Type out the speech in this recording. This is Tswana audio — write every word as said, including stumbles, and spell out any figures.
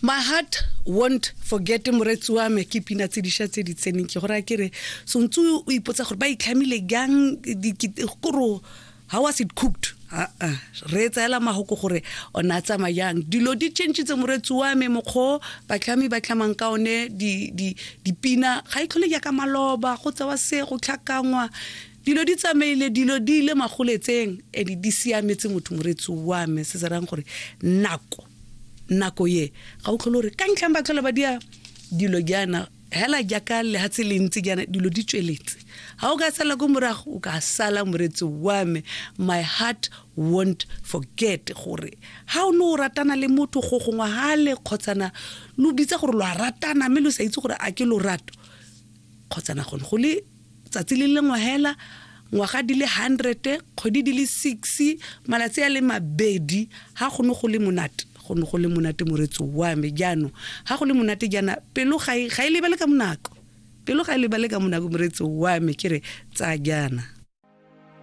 My heart won't forget, moretsi wa me. Ke pina tse dišwa tse di tseneng. Ke gore a ke re sontse o ipotsa gore ba itlhamile jang, koro how was it cooked? Aa, re tsaela mahoko gore ona a tsamaya jang. Dilo di changitse, moretsi wa me. Mokgwa batlhami ba tlhamang ka one dipina ga e tlhole jaaka maloba, go tsewa se go tlhakangwa. Dilo di tsamaile, dilo di ile magoletseng, and di siametse motho, moretsi wa me. Se se rang gore nako nako ye ga o tlhole gore ka ntlhang ba tlhola ba dia dilo jaana hela jaaka lehatshe le ntse jaana, dilo di tsweletse. Ga o ka sala ko morago, o ka sala, moretsi wa me. My heart won't forget gore ga o ne o ratana le motho go gongwe gale, kgotsana lo bitsa gore lo a ratana, mme lo sa itse gore a ke lorato kgotsana gone go le tsatsi le lengwe hela, ngwaga di le hundred, kgwedi di le six, malatsi a le mabedi. Ga go ne go le monate, go ne go le monate, moretsi wa me. Jaanong ga go le monate jaana, pelo ga e lebale ka monako, pelo ga e lebale ka monako, moretsi wa me. Ke re tsaya jaana.